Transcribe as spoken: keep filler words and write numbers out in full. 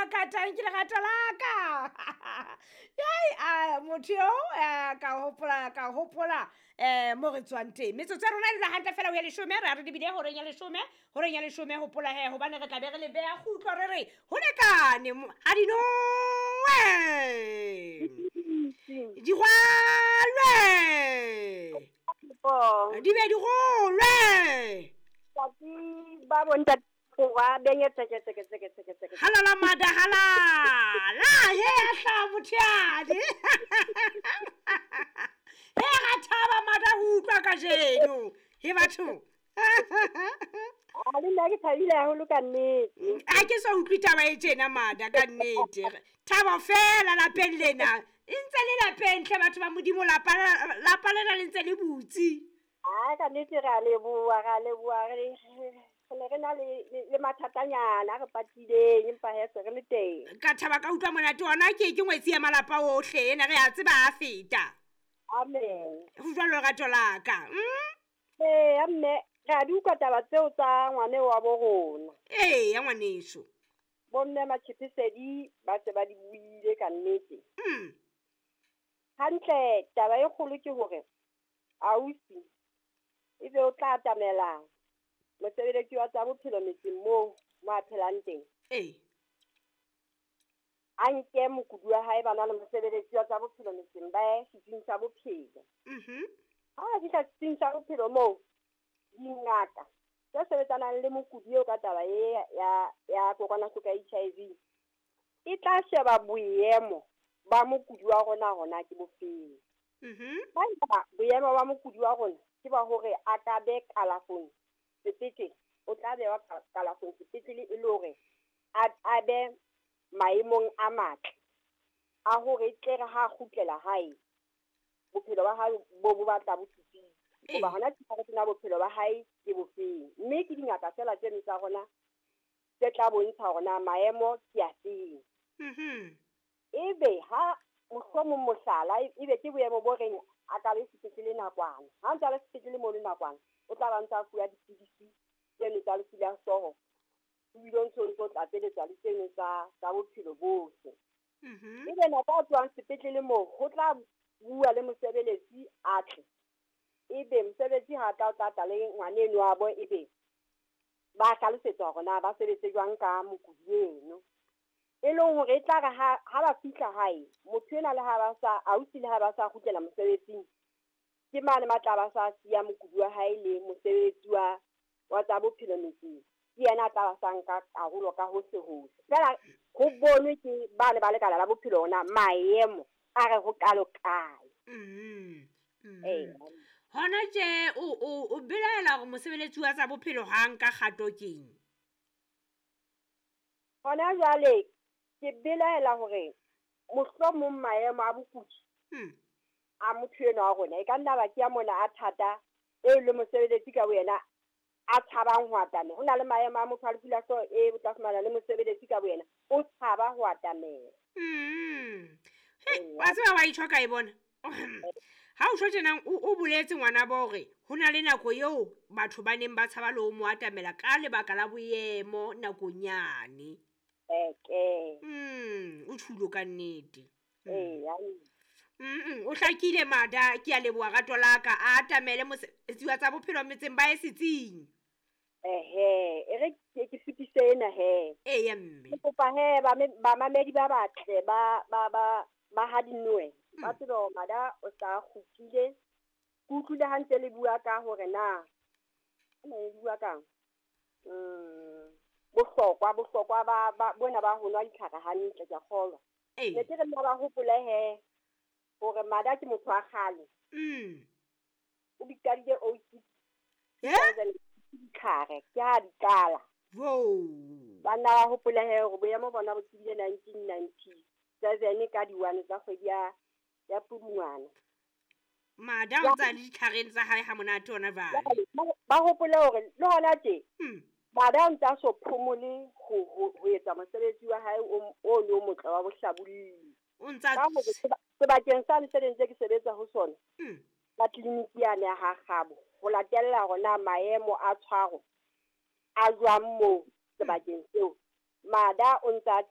la ka, tanki lerato la ka. Yai, a motho eo ka hopola, ka hopola eh mo re tswang teng. Metsotso ya rona e dula hantle fela ho ya leshome, re a re lebile horeng ya leshome, horeng ya leshome hopola he hobane re tla be re le beha kgutlo re re ho lekane ha di nowe. Di rwalwe. Di be di rolwe. Ba bontate wa benye tseke tseke tseke tseke tseke. Halala mada halala. He ahla mothiane. He ra thaba mada ho utlwa kajeno. He batho. A le nna ke thabile haholo ka nnete. Ha ke so utlwe taba e tjena mada ka nnete. Thabo fela lapeng lena. E ntse le lapeng hle batho ba Modimo, lapa lapa lena le ntse le butse. Ha ka nnete re a leboha, re a leboha, re ne re na le le mathatanyana re patileng empa he se re le teng. Ka thaba ka utlwa monate ona ke ke ngwetsi ya malapa ohle ena re a tseba a feta. Amen. Ho jwalo lerato la ka. Mm? Eh amme re a di utlwa taba tseo tsa ngwane wa bo rona. Eh ya ngwaneso. Bomme Matshepesedi ba se ba di buile ka nnete. Mm. Hantle taba e kgolo ke hore ausi ebe o tla atamela mosebeletsi wa tsa bophelo metseng moo mo a phelang teng. Eh. A nke mokudi wa hae ba na le mosebeletsi wa tsa bophelo metseng ba ye setsing sa bophelo. Mhm. Ha a fihla setsing sa bophelo moo dingaka tse sebetsanang le mokudi eo ka taba e ya ya kokwanahloko ya H I V e tla sheba boemo ba mokudi wa rona hona ke bofeng. Mhm. Haeba boemo ba mokudi wa rona ke ba hore a ka be kalafong sepetlele, o tla bewa kalafong sepetlele e le hore a be maemong a matle a hore e tle re ha kgutlela hae bophelo ba hae bo bo batla bo tsitsitse. Hoba hona ke tsena bophelo ba hae ke bofeng, mme ke dingaka fela tseno tsa rona tse tla bontsha hore na maemo ke a feng. Mhm. Ebe ha mohlomong mohlala ebe ke boemo bo reng a ka be sepetlele nakwana, ha ntse a le sepetlele mono nakwana o tla ba ntse a fuwa dipidisi tseno tsa lefu la hlooho, ebile o ntso ntso tlatseletsa le tseno tsa tsa bophelo bohle. Mhm. Ebe nako a tlohang sepetlele moo ho tla bua le mosebeletsi a tle, ebe mosebetsi ha tla o tla tla le ngwaneno wa bo, ebe ba hlalosetsa hore na ba sebetse jwang ka mokudi eno. E leng hore e tla re ha ha ba fihla hae motho ena le ha ba sa ausi le ha ba sa kgutlela mosebetsing ke mane matla ba sa siya mokudi wa hae le mosebetsi wa wa tsa bophelo metseng, ke yena a tla ba sa nka karolo ka hohle hohle. Fela ho bonwe ke bane ba lekala la bophelo hona maemo a re ho kalo kae. Mm. Mm. Eh. Hona tje o o o belaela hore mosebeletsi wa tsa bophelo ha nka kgato keng? Hona jwale ke belaela hore mohlomong maemo a bokudi Mm. a motho enwa wa rona e ka nna ba ke ya mona a thata eo le mosebeletsi ka boyena a tshabang ho atamela. Ho na le maemo a motho a lefu la hlooho e o tla fumana le mosebeletsi ka boyena o tshaba ho atamela. Mm. He, wa tseba wa itjho ka e bona. Ha o tjho tjena o o boletse ngwana ba hore ho na le nako eo batho ba neng ba tshaba le ho mo atamela ka lebaka la boemo nakong yane. Eke. Mm, o tjhulo ka nnete. Eh, ya. Mm, o hlakile mada, ke a leboha rato la ka, a atamele mosebetsi wa tsa bophelo metseng ba ye setsing. Ehe, e re ke ke fetise ena he. Eh ya mme. Ke kopa he ba ba mamedi ba batle ba ba ba ba ha dinoe. Ba tsebe hore mada o sa kgutlile. Ke utlwile ha ntse le bua ka hore na ne le bua kang? Mm, bohlokwa bohlokwa ba ba bona ba ho nwa ditlhare hantle ke a kgolwa. Eh. Ne ke re nna ba hopole he hore mada ke motho wa kgale. Mm. O bikadile oh six. Eh? Ditlhare ke ha di qala. Wo. Banna ba hopole he hore boemo bona bo tsebile nineteen ninety-seven ka di one tsa kgwedi ya ya Pudungwana. Mada o ntsa le ditlhareng tsa hae ha monate hona jwale. Ba hopole hore le hona tje Mm. mada o ntsa so phomole ho ho ho etsa mosebetsi wa hae o o le o motle wa bohlabolli. O ntsa Ka hore sebakeng sane se ntse ke sebetsa ho sona. Mm. Ka tleliniki yane ya ha Kgabo ho latella hore na maemo a tshwaro a jwang moo sebakeng seo. Mada o ntsa